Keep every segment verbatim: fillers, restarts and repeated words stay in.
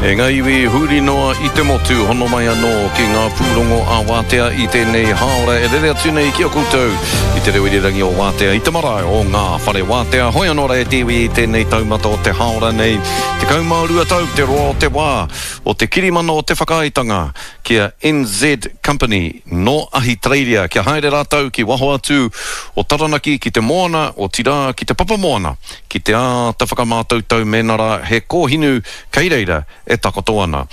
E ngā iwi huri noa i te motu, hono mai anō ki ngā pūrongo a Wātea i tēnei hāora e rere atu nei ki a koutou i te reo irirangi o Wātea i te marae o ngā whare Wātea. Hoi anō rā e te iwi i tēnei taumata o te hāora nei, tekau mā rua tau te roa o te wā o te kirimana o te whakaaetanga ki a N Z Company nō Ahitereiria kia haere rātou ki waho atu o Taranaki ki te moana, otirā ki te papamoana, ki te āta whakamātautau mēnā rā he kōhinu kei reira e takoto ana.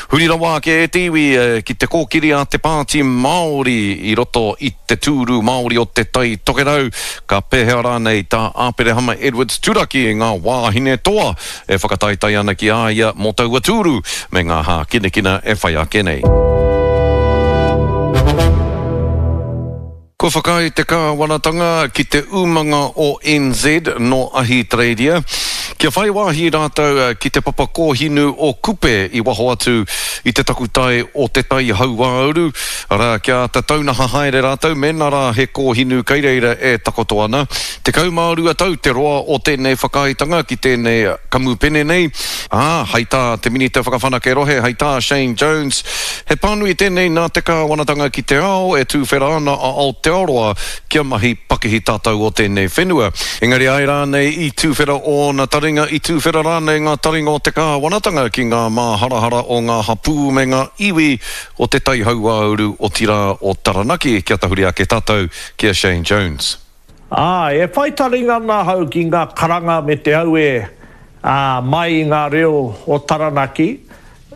Huri rawa ake e te iwi ki te kōkiri a te Pāti Māori i roto i te tūru Māori o Te Tai Tokerau, ka pēhea rānei tā Aperehama Edwards turaki i ngā wāhine toa e whakataetae ana ki a ia mō taua tūru me ngā hākinakina e whai ake nei. Kua whakaae te kāwanatanga ki te umanga o N Z nō Ahitereiria kia whai wāhi rātou ki te papa kōhinu o Kupe i waho atu i te takutai o Te Tai Hauāuru, arā, kia āta taunaha haere rātou mēnā rā he kōhinu kei reira e takoto ana. Tekau mā rua tau te roa o tēnei whakaaetanga ki tēnei kamupene nei, ā, hei tā te Minita Whakawhanake Rohe, hei tā Shane Jones, he pānui tēnei nā te kāwanatanga ki te ao e tūwhera ana a Aotearoa kia mahi pakihi tātou o tēnei whenua. Engari āe rānei i tūwhera ōna taringa, i tūwhera rānei ngā taringa o te kāwanatanga ki ngā māharahara o ngā hapū me ngā iwi o Te Tai Hauāuru, otirā o Taranaki, kia tahuri ake tātou ki a Shane Jones. Āe, e whai taringa ana ahau ki ngā karanga me te auē, ā, mai i ngā reo o Taranaki,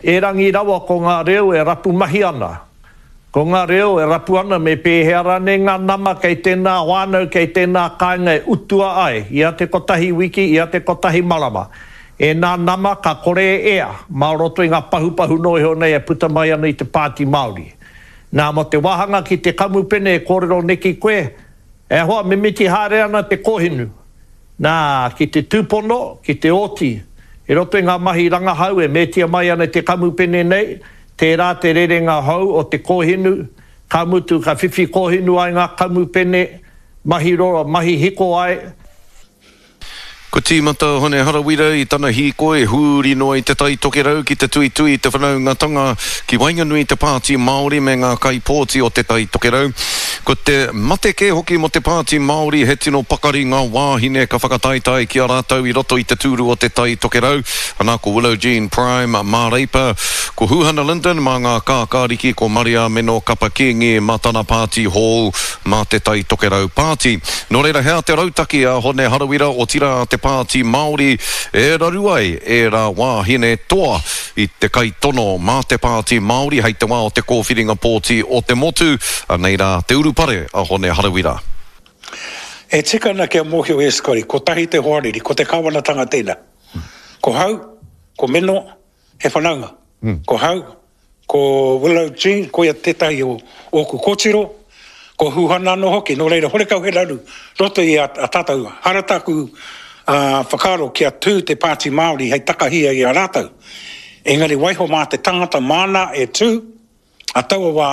erangi rawa ko ngā reo e rapu mahi ana. Ko ngā reo e rapu ana me pēhea rānei ngā nama kei tēnā whānau, kei tēnā kāinga e utua ai ia te kotahi wiki, ia te kotahi marama. Ēnā nama ka kore e ea mā roto i ngā pahupahu noa iho nei e puta mai ana i te Pāti Māori. Nā, mō te wāhanga ki te kamupene e kōrero neki koe, E hoa, mimiti haere ana te kōhinu. Nā, ki te tūpono, ki te oti. I roto i ngā mahi rangahau e mētia mai ana te kamupene nei, tērā te rerenga hou o te kōhinu, ka mutu ka whiwhi kōhinu ai ngā kamupene, mahi roro, mahi hiko ai. Kua tīmata a Hone Harawira i tana hīkoi huri noa i Te Tai Tokerau ki te tuitui i te whanaungatanga ki waenganui i te Pāti Māori me ngā kaipōti o Te Tai Tokerau. Ko te mate kē hoki mō te Pāti Māori he tino pakari ngā wāhine ka whakataetae ki a rātou i roto i te tūru o Te Tai Tokerau, ana ko Willow Jean Prime mā Reipa, ko Huhana Lyndon mā ngā Kākāriki, ko Mariameno Kapa Kīngi mā tana pāti hou mā Te Tai Tokerau Pāti. Nō reira he aha te rautaki a Hone Harawira, otirā a te Pāti Māori e raru ai ērā wāhine toa i te kaitono mā te Pāti Māori hei te wā o te kōwhiringa pōti o te motu? Anei rā te urupare a Hone Harawira. E tika ana kia mōhio e Scotty, kotahi te hoariri, ko te kāwanatanga tēnā. Ko hau, ko Meno, he whanaunga. Ko hau, ko Willow Jean, koia tētahi o ōku kōtiro, ko Huhana anō hoki, nō reira horekau he raru roto i a tātou. Hara tāku whakaaro kia tū te Pāti Māori hei takahia i a rātou. Engari waiho mā te tangata māna e tū a taua wā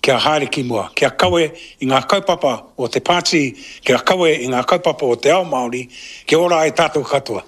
kia haere ki mua, kia kawe i ngā kaupapa o te pāti, kia kawe i ngā kaupapa o te ao Māori, kia ora ai tātou katoa.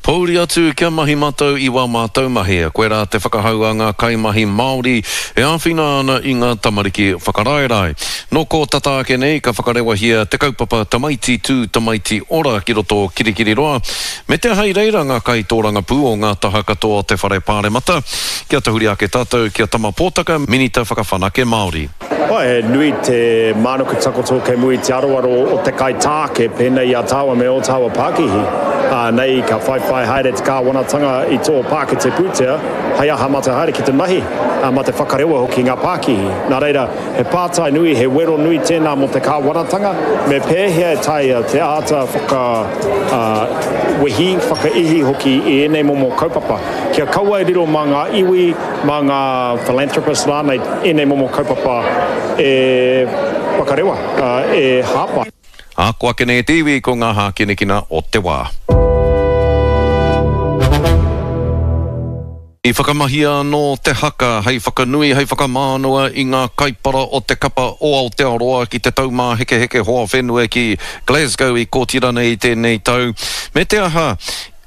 Pōuri atu kia mahi matou i wā mātou mahi. Koirā te whakahau a ngā kaimahi Māori e āwhina ana i ngā tamariki whakaraerae. Nō kō tata ake nei ka whakarewahia te kaupapa Tamaiti Tū Tamaiti Ora ki roto o Kirikiriroa, me te aha i reira ngā kaitōrangapū o ngā taha katoa o te Whare Pāremata. Kia tahuri ake tātou ki a Tama Pōtaka, Minita Whakawhanake Māori. He nui te mānuku takoto kei mua i te aroaro o te kaitāke pēnei i a tāua me ō tāua pākihi. Ā, nei ka whaiwhai haere te kāwanatanga i tō pākete pūtea hei aha mā te haere ki te mahi, ā, mā te whakarewa hoki ngā pākihi. Nā reira, he pātai nui, he wero nui tēnā mō te kāwanatanga, me pēhea e taea te āta whaka, ā, wehi, whakaihi hoki i ēnei momo kaupapa, kia kaua e riro mā ngā iwi, mā ngā philanthropists rānei ēnei momo kaupapa e whakarewa, e hāpai. Ā, ko ake nei e te iwi ko ngā hākinakina o te wā. I whakamahia anō te haka hei whakanui, hei whakamānawa i ngā kaipara o te kapa o Aotearoa ki te Taumāhekeheke Hoa Whenua ki Glasgow i Kōtirana i tēnei tau. Me te aha,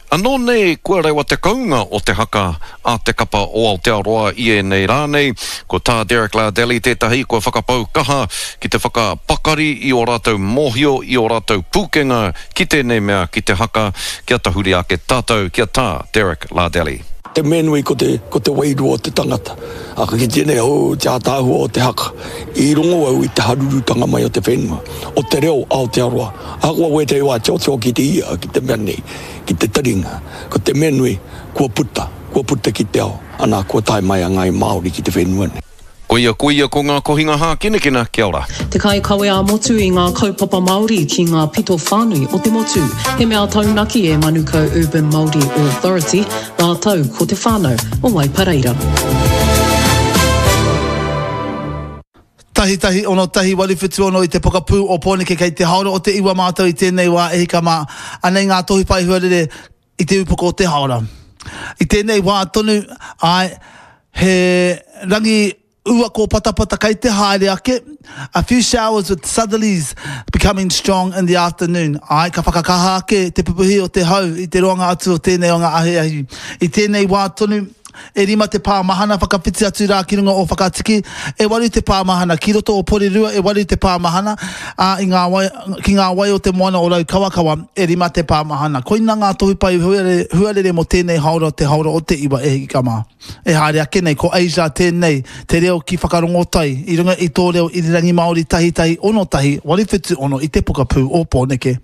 Anō nei kua rewa te kounga o te haka a te kapa o Aotearoa i ēnei rā nei. Ko tā Derek Lardelli tētahi kua whakapau kaha ki te whakapakari i ō rātou mōhio, i ō rātou pūkenga ki tēnei mea, ki te haka, kia tahuri ake tātou ki a Tā Derek Lardelli. Te mea nui ko te, ko te wairua o te tangata. A ka kitea nei, oh, te ātaahua o te haka. I rongo au i te harurutanga mai o te whenua, o te reo Aotearoa. Ahakoa wētahi wā tiotio ki te ia, ki te mea nei, ki te taringa. Ko te mea nui, kua puta, kua puta ki te ao, ana, kua tae mai a Ngāi Māori ki te whenua nei. Koia, koia ko ngā kohinga hākinakina, kia ora. Te kaikawe ā-motu i ngā kaupapa Māori ki ngā pito whānui o te motu. He mea taunaki e Manukau Urban Māori Authority rātou ko te whānau o Waipareira. Tahi tahi ono tahi waru whitu ono i te pokapū o Pōneke kei te haora o te iwa mātou i tēnei wā e hika mā. Anei ngā tohu pae huarere i te upoko o te haora. I tēnei wā tonu, āe, he rangi ua kōpatapata kei te haere ake, a few showers with southerlies becoming strong in the afternoon. Āe, ka whakakaha ake te pupuhi o te hau i te roanga atu o tēnei o ngā ahiahi. I tēnei wā tonu, e rima te pā mahana whakawhiti atu rā ki runga o Whakatiki, e waru te pā mahana ki roto o Porirua, e waru te pā mahana, ā, i ngā wai, ki ngā wai o te moana o Raukawakawa, e rima te pā mahana. Koina ngā tohu pai huarere, huarere mō tēnei haora, te haora o te iwa e hiki ka mā. E haere ake nei, ko Asia tēnei, te reo ki Whakarongotai, i runga i tō reo irirangi Māori tahi tahi ono tahi, waru whitu ono i te pokapū o Pōneke.